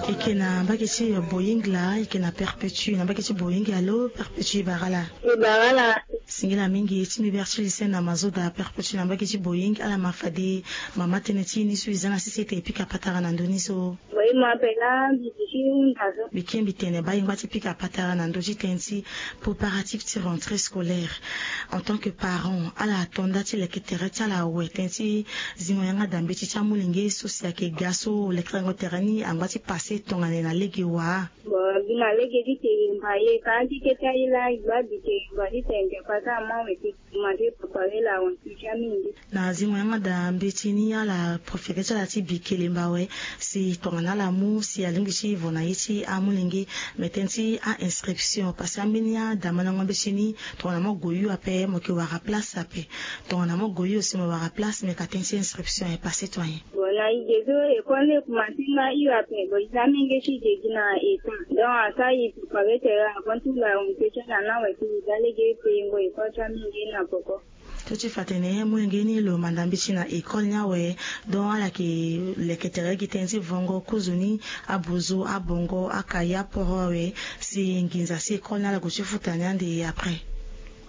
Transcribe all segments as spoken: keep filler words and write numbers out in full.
Eke na mbage ti boying la eke na perpétue na mbage ti boying alo perpétue ibara la. Ibara la. Singila mingi ti mbi berti lise na mazoda perpétue na mbage ti boying ala ma fade mama tënë ti ni so iza na sese ete epika patara na ndö ni so. Boying ma pela mbi ti hunda so. Mbi ke mbi tene baa ingba ti pika patara na ndö ti tënë ti préparatif ti rentrée scolaire. En tant que parent ala to nda ti leke tere ti ala awe tënë ti zingo yanga da mbeti ti amolenge so si ayeke ga so lekerengo tere ni angba ti pase tongana e na lege wa. Bon mbi na lege ti te yemba ye ka ti kete aye laa e gba bi te yemba ti tene te pasa ama we ti kuma ti prépare la rentrée ti amolenge. Na zingo yanga da mbeti ni ala préféré ti ala ti bi kelemba awe si tongana ala mu si alingbi ti vo na ye ti amolenge. Mais tënë ti a inscription parce que ambeni adamandango mbeti ni tongana mo gue yu ape mo yeke wara place ape. Tongana mo gue yu aussi mo wara place mais ka tënë ti inscription aye pase to ayen. Bon na e ge so école ni e kuma ti nga yu ape bon e za amenge ti ge gi na état donc asara e prépare tere avant tout la rentrée ti ala na awe ti e za lege e payengo école ti amenge na poko. Ti ti fa atene molenge ni lo manda mbeti na école ni awe. Donc ala yeke leke tere gi tënë ti vongo kozoni, abozo, abongo, akaye, aporo awe. Si nginza si école ni ala gue ti futa ni ande après.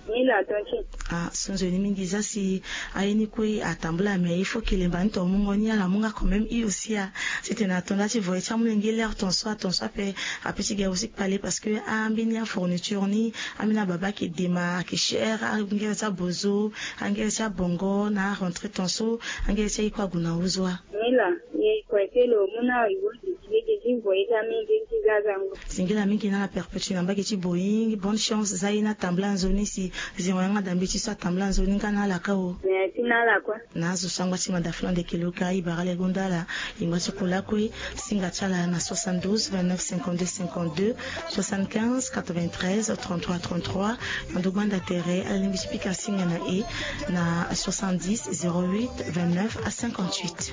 Ni la tonti. Ah so nzoni mingi za si aye ni kue atambula mais il faut kelemba ni to mungo ni ala mu nga quand même i aussi a. Titene ato nda ti voye ti amolenge l'heure ton so aton so ape. Ape ti ga aussi kpale parce que ambeni afourniture ni ambeni ababa ayeke dema ayeke cher angere ti abozo, angere ti abongo na arentrée ton so. Angere ti aye kue ague na huzoa. Ni la ye kue ti lo mu na awe e vo. Lege ti voye ti amenge ti zazango. Singila mingi na ala perpétue na mbage ti boying bonne chance za ye ni atambula nzoni si zingo yanga da mbeti so atambula nzoni nga na ala kâ o. Merci na ala kue. Na azo so angba ti mada flan de keloka ibara le gonda ala. Ingba ti kula kue. Singa ti ala na soixante-douze vingt-neuf cinquante-deux cinquante-deux, soixante-quinze quatre-vingt-treize trente-trois trente-trois. Na ndo gbanda tere ala lingbi ti pika singa na e na soixante-dix zéro huit vingt-neuf à cinquante-huit.